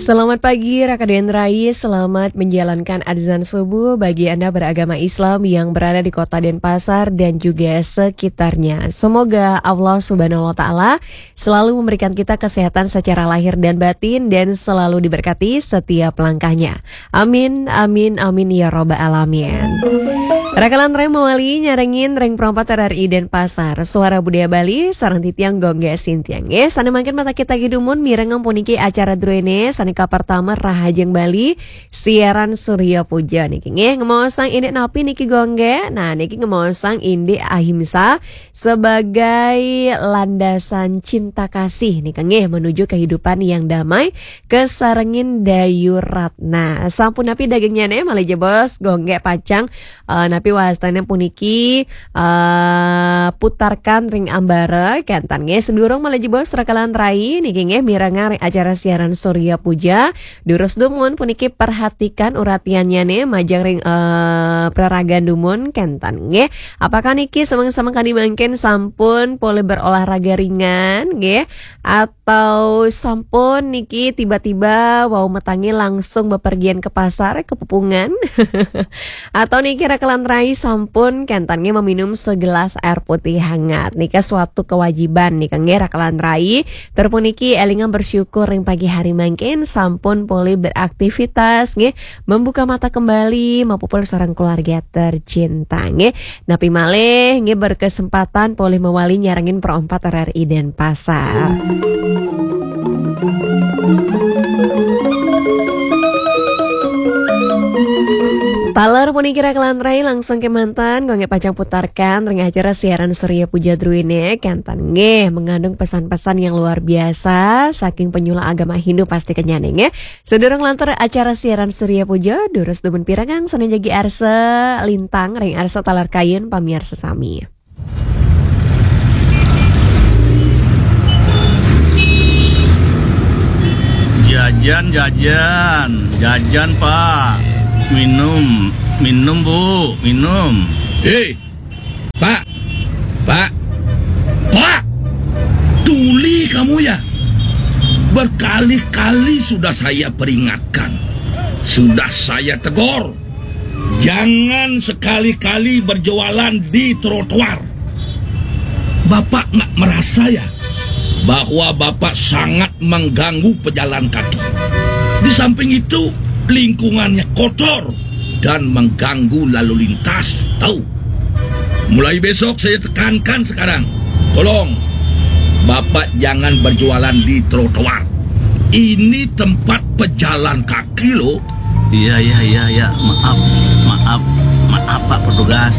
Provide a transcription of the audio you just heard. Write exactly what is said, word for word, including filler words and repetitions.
Selamat pagi, Raka dan Rai. Selamat menjalankan azan subuh bagi Anda beragama Islam yang berada di kota Denpasar dan juga sekitarnya. Semoga Allah Subhanahu wa Ta'ala selalu memberikan kita kesehatan secara lahir dan batin dan selalu diberkati setiap langkahnya. Amin, amin, amin ya robbal alamin. Raka lan Rai mawali nyarengin ring perempat R R I Denpasar. Suara Budaya Bali, sareng titiang Gongge Sintiang. Eh, sane mangkin mata kita gidumun mireng puniki acara druene, sane kapertama Rahajeng Bali, siaran Surya Puja niki nggih. Ngemaosang indik napi niki Gongge? Nah, niki ngemaosang indik ahimsa sebagai landasan cinta kasih nih nggih, menuju kehidupan yang damai, kesarengin Dayu Ratna. Sampun napi dagingnya nih, malih jebos Gongge pacang, eh, napi wastane puniki, eh, putarkan ring ambara, kenten nggih. Sedurung malih jebos Raka lan Rai niki nggih, mirengang ring acara siaran Surya Puja. Durus dumun puniki perhatikan uratiannya nih, majeng ring, eh, praragan dumun, kenten nggih. Apakah niki semeng-semeng kadi mangkin sampun polih berolahraga ringan nggih? Atau sampun niki tiba-tiba wau metangi langsung bepergian ke pasar, ke pepungan? Atau niki Raka lan Rai sampun kenten nggih meminum segelas air putih hangat? Nika suatu kewajiban nika nggih Raka lan Rai. Tur puniki elingang bersyukur ring pagi hari mangkin sampun polih beraktivitas nggih, membuka mata kembali, mapupul sareng keluarga tercinta nggih. Napi malih nggih berkesempatan polih mawali nyarengin Pro empat R R I Denpasar. Taler puniki Raka lan Rai langsung kemanten, Gongge pacang putarkan ring acara siaran Surya Puja druene, kenten nggih mengandung pesan-pesan yang luar biasa saking penyuluh agama Hindu pasti kenyane nggih. Sedurung lantur acara siaran Surya Puja, durus dumun pirengang sane jagi arsa lintang ring arsa taler kayun pamiarsa sami. Jajan, jajan, jajan, Pak. Minum, minum, Bu, minum. Hei, Pak, Pak, Pak, tuli kamu ya. Berkali-kali sudah saya peringatkan, sudah saya tegur. Jangan sekali-kali berjualan di trotoar. Bapak nggak merasa ya bahwa Bapak sangat mengganggu pejalan kaki? Di samping itu, lingkungannya kotor dan mengganggu lalu lintas. Tahu? Mulai besok saya tekankan sekarang. Tolong, Bapak jangan berjualan di trotoar. Ini tempat pejalan kaki loh. Iya, iya, iya, iya. Maaf, maaf, maaf, Pak Petugas.